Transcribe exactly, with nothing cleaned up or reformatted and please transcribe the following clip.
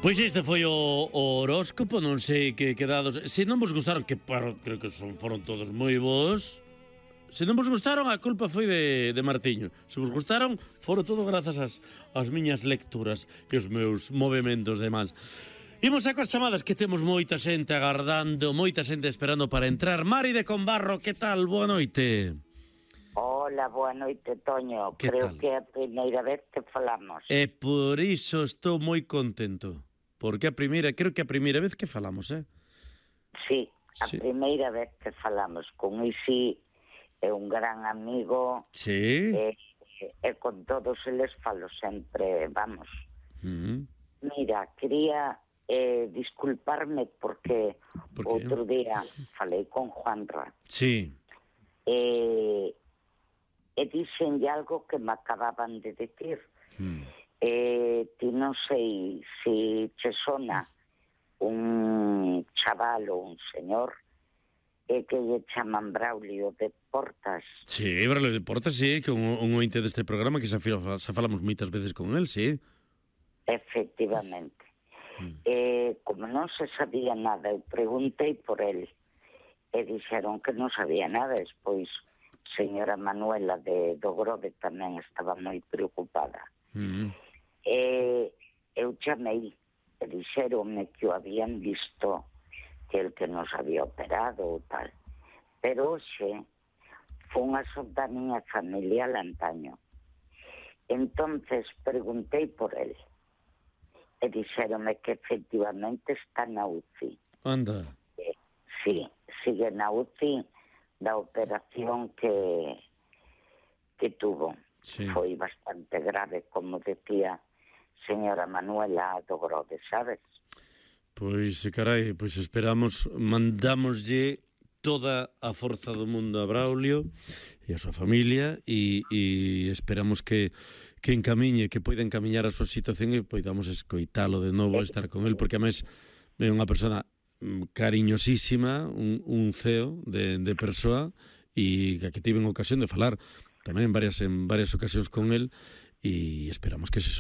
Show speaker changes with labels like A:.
A: Pois este foi o, o horóscopo, non sei que quedados. Se non vos gustaron, que paro, creo que son foron todos moi bons. Se non vos gustaron, a culpa foi de, de Martiño. Se vos gustaron, foron todo grazas ás, ás miñas lecturas e os meus movementos de mans. Imos a coas chamadas, que temos moita xente agardando, moita xente esperando para entrar. Mari de Combarro, que tal? Boa noite.
B: Hola, boa noite, Toño.
A: Que
B: Creo
A: tal?
B: que é a primeira vez que falamos.
A: E por iso estou moi contento. Porque a primeira, creo que a primeira vez que falamos, eh?
B: Sí, a
A: Sí.
B: primeira vez que falamos con Isi, é un gran amigo,
A: Sí.
B: e, e con todos eles falo sempre, vamos.
A: Mm.
B: Mira, quería eh, disculparme porque
A: Por qué?
B: outro día falei con Juanra
A: Sí.
B: e, e dixenlle algo que me acababan de decir.
A: Mm.
B: Eh, ti non sei se che sona un chaval ou un señor e que lle chaman Braulio de Portas.
A: Sí, Braulio de Portas, sí, que un, un ointe deste programa que xa, fila- xa falamos moitas veces con él, sí.
B: Efectivamente.
A: Mm.
B: Eh, como non se sabía nada, eu preguntei por el e dixeron que non sabía nada. Despois, señora Manuela de do Grove tamén estaba moi preocupada.
A: Mm.
B: E eu chamei e dixeronme que o habían visto, que el que nos había operado ou tal. Pero hoxe fun a da miña familia lantaño. Entonces preguntei por el e dixeronme que efectivamente está na U C I.
A: Anda.
B: Eh, sí, sigue na U C I da operación que que tuvo.
A: Sí.
B: Foi bastante grave, como decía señora Manuela do Grove, sabes?
A: Pois, carai, pois esperamos, mandámoslle toda a forza do mundo a Braulio e a súa familia e, e esperamos que, que encamiñe, que poida encamiñar a súa situación e poidamos escoitalo de novo, estar con el, porque a mes é unha persona mm, cariñosísima, un, un ceo de, de persoa e que tiven ocasión de falar tamén varias en varias ocasións con el e esperamos que se